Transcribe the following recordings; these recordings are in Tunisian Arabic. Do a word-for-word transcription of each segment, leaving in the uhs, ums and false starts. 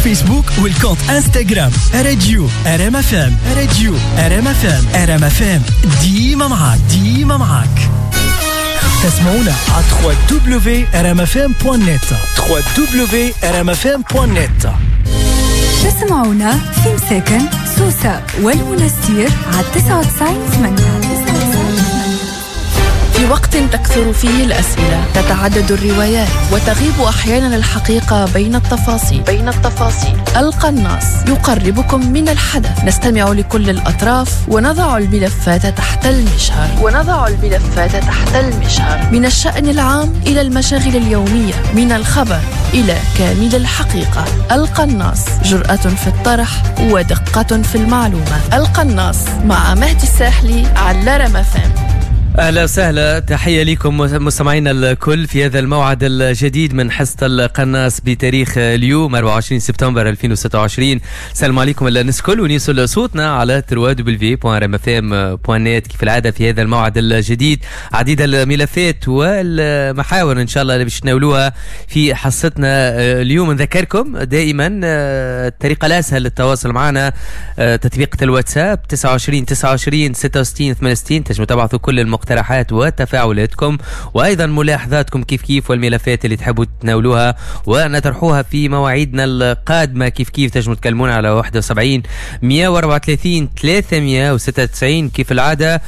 فيسبوك وال compte انستغرام راديو ار ام اف ام، راديو ار ام اف ام، ار ام اف ام ديما معاك، ديما معاك. تسمعونا على دبليو دبليو دبليو دوت ار ام اف ام دوت نت، دبليو دبليو دبليو دوت ار ام اف ام دوت نت. تسمعونا في مساكن سوسة والمنستير على تسعة وتسعين ثمانية. في وقت تكثر فيه الأسئلة، تتعدد الروايات، وتغيب أحيانا الحقيقة بين التفاصيل بين التفاصيل. القناص يقربكم من الحدث، نستمع لكل الأطراف ونضع الملفات تحت المجهر ونضع الملفات تحت المجهر من الشأن العام إلى المشاغل اليومية، من الخبر إلى كامل الحقيقة. القناص جرأة في الطرح ودقة في المعلومة. القناص مع مهدي الساحلي على رام اف ام. أهلا وسهلا، تحية لكم مستمعينا الكل في هذا الموعد الجديد من حصة القناص بتاريخ اليوم أربعة وعشرين سبتمبر ألفين وستة وعشرين. السلام عليكم الناس الكل، ونوصل صوتنا على دبليو دبليو دوت ار ام اف ام دوت نت كيف العادة في هذا الموعد الجديد. عديد الملفات والمحاور إن شاء الله اللي باش تناولوها في حصتنا اليوم. نذكركم دائما الطريقة الأسهل للتواصل معنا تطبيقة الواتساب تسعة وعشرين تسعة وعشرين ستة وستين ثمانية وستين، تنجموا تبعثوا كل المقترحات مقترحات وتفاعلاتكم وايضا ملاحظاتكم كيف كيف، والملفات اللي تحبوا تتناولوها ونطرحوها في مواعيدنا القادمة كيف كيف. تنجموا تكلمونا على واحد وسبعين مئة وأربعة وثلاثين ثلاثمئة وستة وتسعين كيف العادة.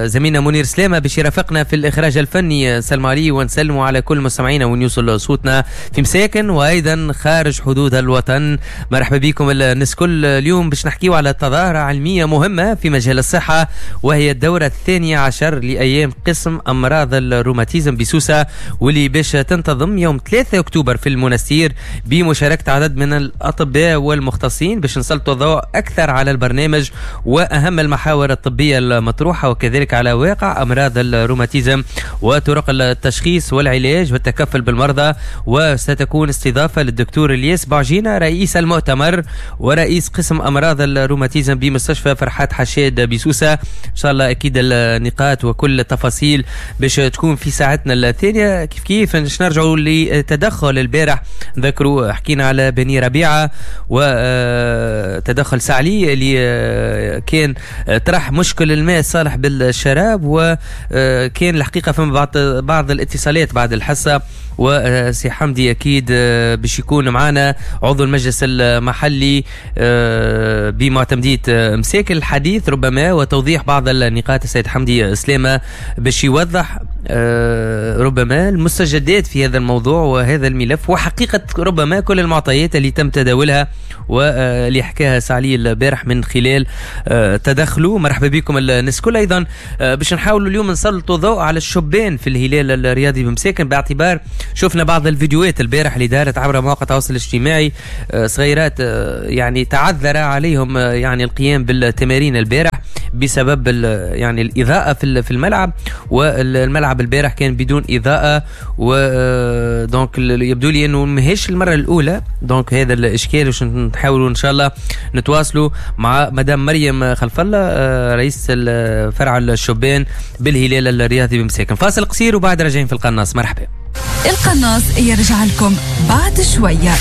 زميلنا منير سلامه باش يرافقنا في الاخراج الفني. سلم عليه ونسلموا على كل مستمعينا ونوصل صوتنا في مساكن وايضا خارج حدود الوطن. مرحبا بكم الناس كل. اليوم باش نحكيو على تظاهرة علمية مهمة في مجال الصحة، وهي الدورة الثانية عشر لأيام قسم أمراض الروماتيزم بسوسة، واللي باش تنتظم يوم ثلاثة أكتوبر في المنستير بمشاركة عدد من الأطباء والمختصين باش نسلطوا الضوء أكثر على البرنامج وأهم المحاور الطبية المطروحة، وكذلك على واقع أمراض الروماتيزم وطرق التشخيص والعلاج والتكفل بالمرضى. وستكون استضافة للدكتور الياس بعجينة رئيس المؤتمر ورئيس قسم أمراض الروماتيزم بمستشفى فرحات حشاد بسوسة. إن شاء الله أكيد النقاط وكل التفاصيل باش تكون في ساعتنا الثانية. كيف كيف باش نرجعوا لتدخل البارح، نذكروا حكينا على بني ربيعة وتدخل سعلي اللي كان طرح مشكل الماء الصالح بالشراب، وكان الحقيقة فما بعض بعض الاتصالات بعد الحصة. وسي حمدي أكيد باش يكون معنا عضو المجلس المحلي بمعتمدية مساكن الحديث ربما وتوضيح بعض النقاط. السيد حمدي سلامة باش يوضح ربما المستجدات في هذا الموضوع وهذا الملف، وحقيقة ربما كل المعطيات اللي تم تداولها واللي حكاها سعلي البارح من خلال تدخله. مرحبا بكم الناس كل. أيضا باش نحاولوا اليوم نسلطوا ضوء على الشبان في الهلال الرياضي بمساكن، باعتبار شفنا بعض الفيديوهات البارح اللي دارت عبر مواقع التواصل الاجتماعي، صغيرات يعني تعذر عليهم يعني القيام بالتمارين البارح بسبب يعني الإضاءة في الملعب، والملعب البارح كان بدون إضاءة، و donc يبدو لي أنه ماهيش المرة الأولى donc هذا الإشكال. باش نحاولوا إن شاء الله نتواصلوا مع مدام مريم خلف الله رئيس فرع الشبان بالهلال الرياضي بمساكن. فاصل قصير وبعد راجعين في القناص. مرحبا. القناص يرجع لكم بعد شوية.